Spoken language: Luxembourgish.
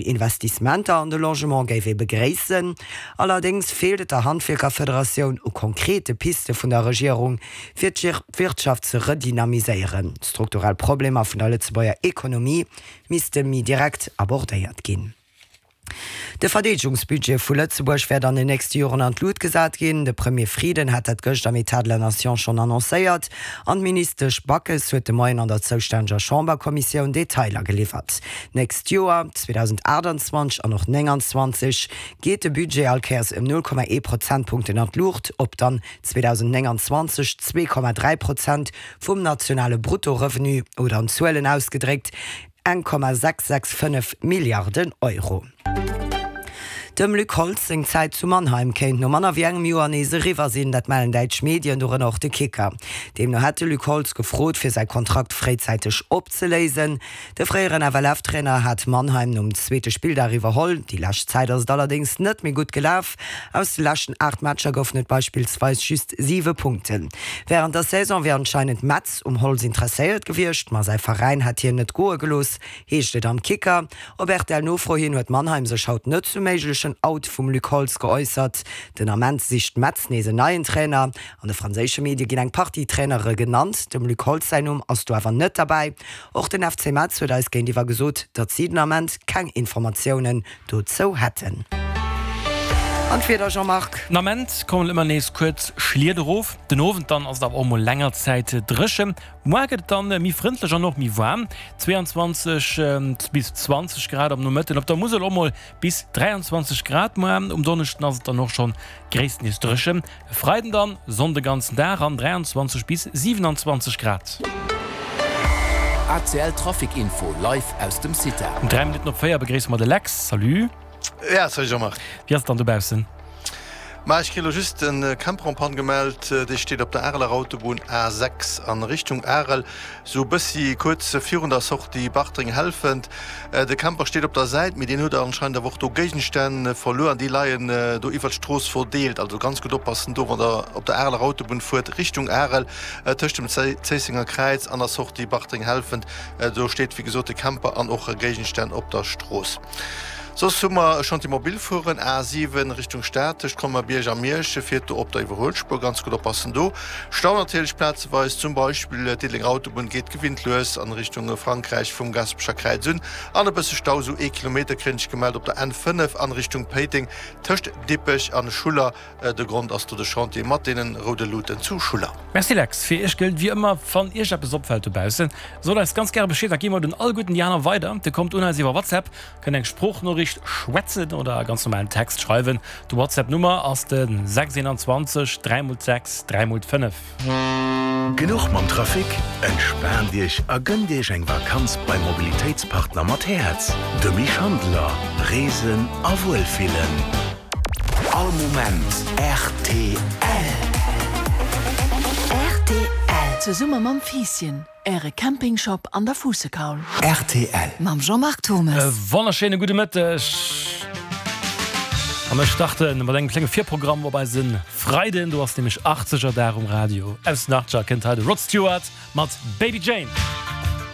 Investissementer an de Logement géif ee begréissen. Allerdéngs feelt et der Handwierkerfederatioun u konkrete Piste vun der Regierung, fir d'Wirtschaft ze redynamiséieren. D'strukturell Problemer vun der Lëtzebuerger Ekonomie misste méi direkt abordéiert ginn. De Verdeedegungsbudget vu Lëtzebuerg wäert an den nächste Joren an d'Lut gesat ginn. De Premier Frieden hat dat gëscht am Etat de la Nation schonn annoncéiert an d'Ministesch Backes huet de Moien an der zoustänneger Chamberkommissioun Detailer geliwwert. D'nächst Joer, 2028 an och 29, geet de Budget all Kéiers ëm 0,1 Prozentpunkten an d'Luucht, op dann 2029 2,3 Prozent vum nationale Bruttorevenu oder an Zuelen ausgedréckt 1,665 Milliarden Euro. Dem Luc Holtz seng Zäit zu Mannheim kéint no manner wéi engem Joer nees eriwwer sinn. Dat mellen däitsch Medien, dorënner och de Kicker. Deemno hätt de Luc Holtz gefrot, fir säi Kontrakt fréizäiteg opzeléisen. De fréieren FLF-Trainer hat Mannheim nom zweete Spilldag iwwerholl. Déi lescht Zäit ass et allerdéngs net méi gutt gelaf. Aus de leschten 8 Matcher goufen et beispillsweis just 7 Punkten. Wärend der Saison wier anscheinend Metz um Holtz interesséiert gewiescht, ma säi Veräin hätt hien net goe gelooss, heescht et am Kicker. Op RTL-Nofro hin huet Mannheim sech haut net zum méiglechen Out vum Luc Holtz geäussert. Den Ament sicht Metz nees en neien Trainer. An de franséische Medie ginn eng Partie Trainere genannt, dem Luc Holtz säin Numm ass do awer net derbäi. Och den FC Metz huet eis géintiwwer gesot, datt si den Ament keng Informatiounen dozou hätten. An d'Wieder, Jean-Marc? Den Ament kommen ëmmer nees kuerz Schliet erof, den Owend dann ass et awer och mol länger Zäit dréchen. Muar gëtt et dann méi frëndlech an och méi waarm, 22 bis 20 Grad am Nomëtten, op der Musel och mol bis 23 Grad. Muar um Donneschden ass et dann och schonn gréisstendeels dréchen. E Freiden dann Sonn de ganzen Dag an 23 bis 27 Grad. ACL Trafic Info live aus dem CITA. Um 3 Minutten op 4 begréisse mer de Lex. Salut. Ja, salut Jean-Marc. Wéi ass et dann dobaussen? Ma ech kritt elo just e Camper en panne gemellt. Dee steet op der Areler Autobunn A6 an Richtung Arel, sou e bëssi kuerz virun der Sortie Bartreng-Helfent. De Camper steet op der Säit, mee deen huet anscheinend awer och do Géigenstänn verluer an déi leien do iwwert d'Strooss verdeelt. Also ganz gutt oppassen do, wann der op der Areler Autobunn fuert Richtung Arel, tëscht dem Zéissenger Kräiz an der Sortie Bartreng-Helfent. Do steet wéi gesot de Camper an och Géigenstänn op der Strooss. Soss hu mer e Chantier mobil fueren, A7 Richtung Stad tëscht Colmar-Bierg a Miersch, fiert do op der Iwwerhuelspuer, ganz gutt oppassen do. Stau natierlech plazeweis, zum Beispill d'Diddelenger Autobunn geet gewinnt lues an Richtung Frankräich vum Gaspecher Kräiz un an e bësse Stau, sou ee Kilometer kréien ech gemellt op der N5 an Richtung Péiteng tëscht Dippech an Schuller. De Grond ass do de Chantier mat deenen roude Luuten zu Schuller. Merci Lex, fir iech gëllt wéi ëmmer, wann iech eppes opfält dobaussen, sot eis ganz gäre Bescheed, da gi mer et un alleguerten déi aner weider. Dir kommt un eis iwwer WhatsApp, kënnt eng Sproochnoriicht schwätzen oder e ganz normalen Text schreiwen. De WhatsApp Nummer ass de 6 21 3 x 6 3 x 5. Genuch mam Trafic? Entspaant Iech a gënnt Iech eng Vakanz beim Mobilitéitspartner mat Häerz, de Mich Handeler. Reesen a Wuelfillen. All Moment rtl. Rtl. Zesumme mam Fiisschen, Äre Campingshop an der Fuussekaul. Rtl. Mam Jean-Marc Thommes. E wonnerschéine gudde Mëtteg. A mir starte mat engem klenge Virprogramm op eise Freiden. Do ass nämlech Achtzegerdag um Radio. Aus den Achtzeger kënnt hei de Rod Stewart mat Baby Jane.